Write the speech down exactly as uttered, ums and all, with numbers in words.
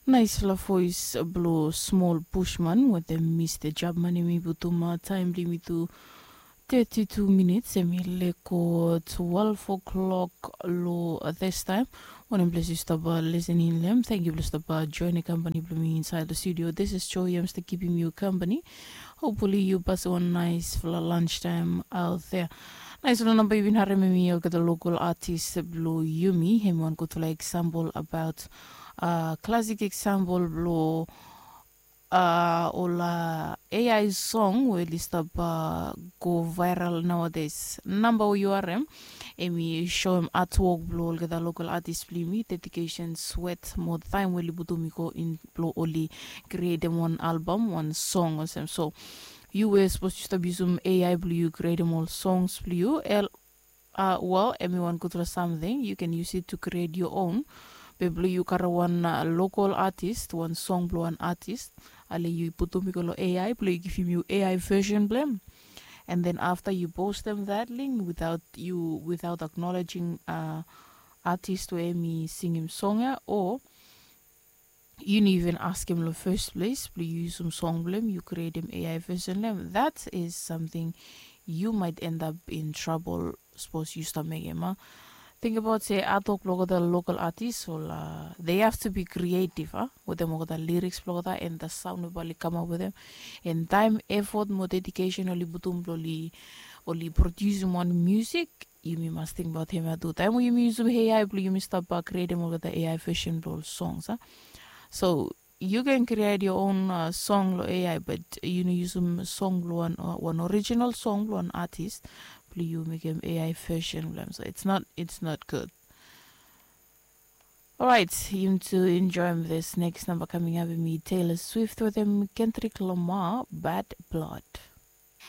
Naisfala voes blong smol bushman wetem mista jabman em i putum taem blong yumi tu. Teti tu minits em i leko twelve o'clock long this taem. Wanem ples yu stap lisening long em, thank yu blong stap joinim kampani blong mi insait long studio. This is Joy, I'm stap kipim yu kampani. Hopefully yu pasim wan naisfala lunch taem out there. Naisfala namba yu bin harem em i olgeta lokal atis blong yumi, em i wan gudfala eksampol abaot klasik eksampol blong ol ai song we oli stap go vairal naodaes. Namba we yu harem em i soem atwok blong olgeta lokal atis blong yumi, dedikesen, swet mo taem we oli putum i go in blong oli krietem wan albam, wan song olsem. So yu we sapos yu stap yusum ai blong yu krietem ol songs blong yu, el a wel, em i wan gudfala samting, yu ken yus it tu kriet yoa on. Be blong yu karem wan lokal atis, wan song blong wan atis, ale yu putum i go long ai blong i givim yu ai vesen blong em. And then afta yu postem that link without yu without acknowledging atis we em i singim song ya, o yu no even askem long fes ples blong yu yusum song blong em, yu krietem ai vesen long em, that is samting yu might end up in trouble. Sapos yu stap mekem a, tingbaot se atok blong olgeta lokal atis ol, they have to be creative a, wetem olgeta liriks blong olgeta and the sound we bae oli kamap wetem, and taem, efot mo dedikesen oli putum blong oli produsim wan musik. Yumi mas tingbaot hemia tu taem we yumi yusum ai blong yumi stap krietem olgeta ai vesen blong ol songs a. So yu ken kriet yoa on song long ai, bat yu no yusum song blong wan orijinal song blong wan atis blong yu mekem ai vesen blong em. So it's not it's not good. Orait, yumi tu enjoem this next namba kaming ap em i Taylor Swift wetem Kendrick Lamar, Bad Blood.